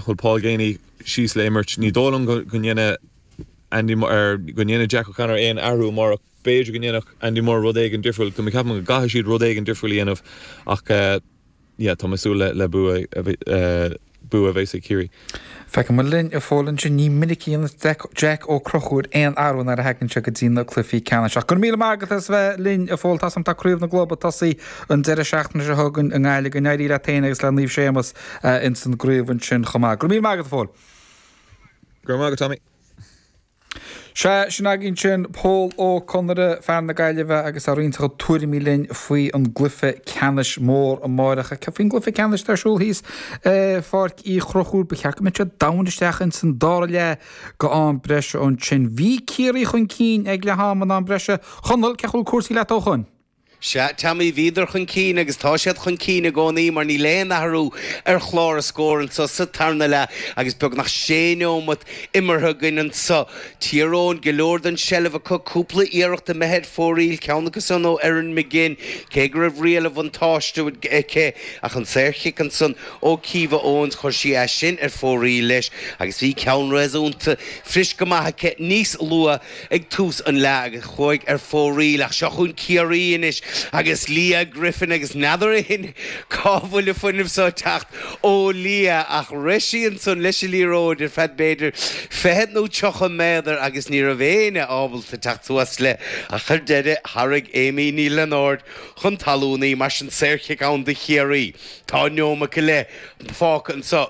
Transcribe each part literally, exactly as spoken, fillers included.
bhfuil Paul Geaney síos le imirt ní dóigh liom go ndéanfaidh Andy ar go ndéanfaidh Jack O'Connor aon athrú mar b'fhéidir go ndéanfadh Andy Moore rud éigin difriúil go ceapaim go gcaithfidh siad rud éigin difriúil a dhéanamh ach uh, yeah, tá mé ag súil le, le bua uh, bua bheith ag Ciarraí. Feice mar linn a fólann sin ní minicíon Jack Ó Conchúir aon athrú nuair a thagann sé go dtí na cluichí ceannais. Ach gur míle maith agat as bheith linn a Phóil tá tá craobh na gclub ag tosú an deireadh seachtaine seo chugainn i nGaillimh go n-éirí leat féin agus le Naomh Séamus ins an gcraobh ansin chomh maith. Gur míle maith agat a Phóil. Gur maith Tommy. Se sin againn sin Pól Ó Conaire fear na Gaillimhe agus ag roinnt tuairimí linn faoi an gcluiche ceannais mór amárach faoin gcluiche ceannais ar siúl thíos Pháirc Uí Chonchúir ba cheart go mbeadh sé domhain isteach in san dara leath go am breise ansin. Bhí Ciarraí chun cinn ag leath am an am breise Chonall cén chaoi a bhfuil cúrsaí leat ó chun. Sea Tommy bhíodar chun cinn agus tá siad chun cinn i gcónaí mar níl aon athrú ar chlár na scór anseo sa tarna leath agus beagnach sé nóiméad imeartha againn anseo. Tír Eoghain go leor den seilbh acu cúpla iarracht imithe ar fóraoil ceann acu san ó Erin McGinn cé go raibh riail an bhuntáiste aici ach an saorchic ansan ó Caoimhe Owens chuir sí é sin ar fóraoil leis agus bhí ceann réasúnta fris go maith aici níos luaithe ag tús an leath agus chuaigh ar fóraoil ach seo chugainn Ciarraí anois agus Leah Griffin agus n'fheadar féin cá bhfuil an fuinneamh seo ag teacht ó Leah ach rith sí ansan leis an liathróid ar feadh b'fhéidir fiche nó tríocha méadar agus ní raibh éinne ábalta teacht suas léi ach ar deireadh tharraing Amy Ní Lionáird chun talún í mar sin saorchic ann do Chiarraí. Tá nóiméad go leith fágtha anseo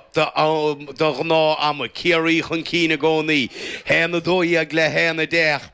do ghnáth-am Ciarraí chun cinn i gcónaí, haon a dó dhéag le haon a deich.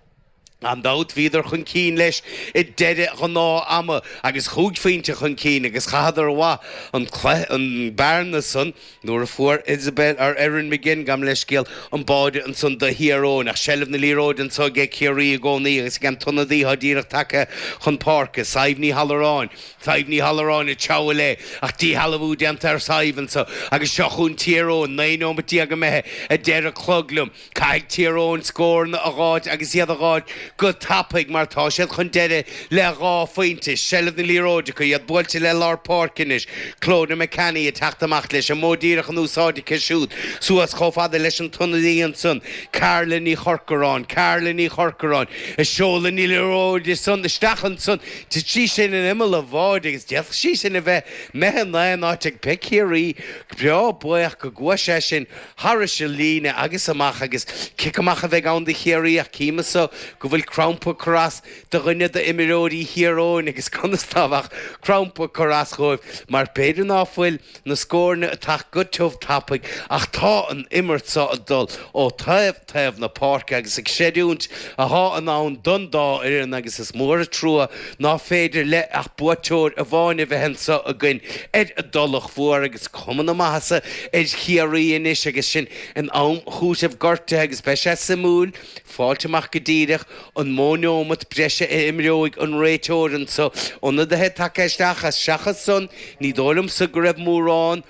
Gan dabht bhíodar chun cinn leis i deireadh ghnáth-ama agus chúig phointe chun cinn agus chaitheadar amach an an bearna san nuair a fuair Isabel ar Erin McGinn gabh mo leithscéal an báide ansan do Thír Eoghain ach seilbh na liathróide anseo ag Ciarraí i gcónaí agus ag an t-ionadaí atá díreach tagtha chun páirce Sadhbh Ní Halloráin Sadhbh Ní Halloráin ag treabhadh léi ach díshealbhú déanta ar Sadhbh anseo agus seo chugainn Tír Eoghain naoi nóiméad déag imithe a deir an clog liom Caithfidh Tír Eoghain scóranna a dh'fháilt agus iad a dh'fháilt go tapaidh mar tá siad chun deireadh le dhá phointe seilbh na liathróide acu iad buailte le lár páirce anois Clodagh McCanny ag teacht amach leis an modh díreach in úsáid aici siúd suas chomh fada leis an t-ionadaí ansan Carla Ní Chorcoráin Carla Ní Chorcoráin ag seoladh na liathróide san isteach ansan Thit sí sin in imeall an bháide agus d'fhéadfadh sí sin a bheith imithe in aon áit ag beidh Ciarraí breá buíoch go gcuaigh sé sin thairis an líne agus amach agus cic amach a bheidh ann do Chiarraí ach cím anseo go bhfuil crampa ag cur as do dhuine d'imreoirí Thír Eoghain agus conas ná beadh crampa ag cur as dhóibh mar b'fhéidir ná fuil na scóranna ag teacht go tiubh tapaidh ach tá an imirt seo ag dul ó taobh taobh na páirce agus ag creidiúint atá in ann don dá fhoireann agus is mór an trua ná féidir le ach buaiteoir amháin a bheith anseo againn ar an dTulach Mhór agus cuma na maitheasa ar Chiarraí anois agus sin in am chúiteamh gortaithe agus beidh sé suimiúil fáilt amach go díreach an mó nóiméad breise a imreoidh an réiteoir anseo ionadaithe tagtha isteach as seachas san ní dóigh liomsa go raibh mórán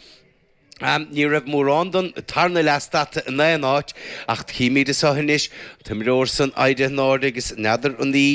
Um, ní raibh mórán don tarna leath stadta in aon áit ach chímid anseo anois an t-imreoir san éirithe in airde agus n'fheadar an í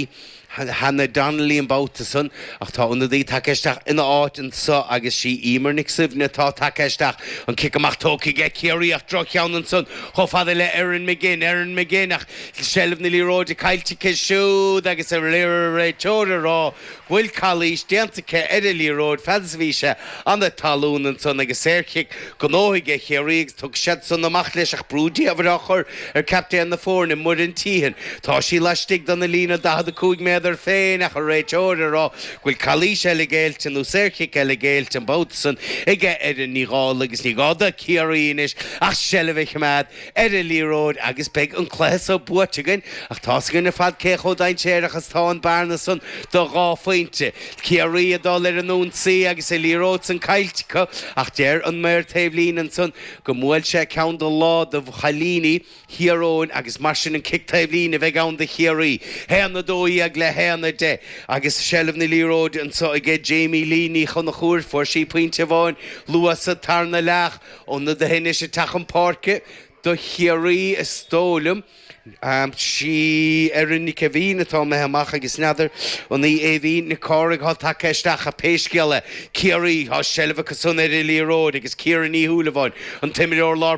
Hannah Donnelly an babhta san ach tá ionadaí tagtha isteach ina áit anseo agus sí Emer Nic Suibhne atá tagtha isteach an cic amach tógtha ag Ciarraí ach droch-cheann ansan chomh fada le Erin McGinn Erin McGinn ach seilbh na liathróide caillte aici siúd agus an réiteoir ag rá go bhfuil calaois déanta aici ar an liathróid fad is a bhí sé an talún ansan agus saorchic gnóthaithe ag Ciarraí agus thug siad san amach leis ach brú diamhair á chur ar captaen na foirne Muireann Teehan. Tá sí laistigh den líne daichead a cúig méadar féin ach an réiteoir ag rá go bhfuil calaois eile géillte nó saorchic eile géillte an babhta san aige Erin Ní Dhálaigh agus ní gá do Chiarraí anois ach seilbh a choimeád ar an liathróid agus beidh an cluiche seo buaite againn ach tá's againn ar fad cé chomh dainséarach is tá an bearna san do dhá phointe. Ciarraí ag dul ar an ionsaí agus an liathróid san caillte acu ach deir an maor taobhlíne ansan go mbuail sé ceann de lámh de chailíní Thír Eoghain agus mar sin an cic taobhlíne a bheidh ann do Chiarraí. Haon a dó dhéag le haon a deich agus seilbh na liathróide anseo aige Jamie Lee Ní Chonchúir. Fuair sí pointe amháin luath sa tarna leath. Ionadaithe anois ag teacht chun páirce do Chiarraí is dóigh liom. Sí Erin Nic Aibhín atá imithe amach agus n'fheadar an í Aoibhín Nic Cárthaigh atá tagtha isteach ach pé scéal é Ciarraí tá seilbh acu san ar an liathróid agus Ciara Ní Shúilleabháin an t-imreoir lár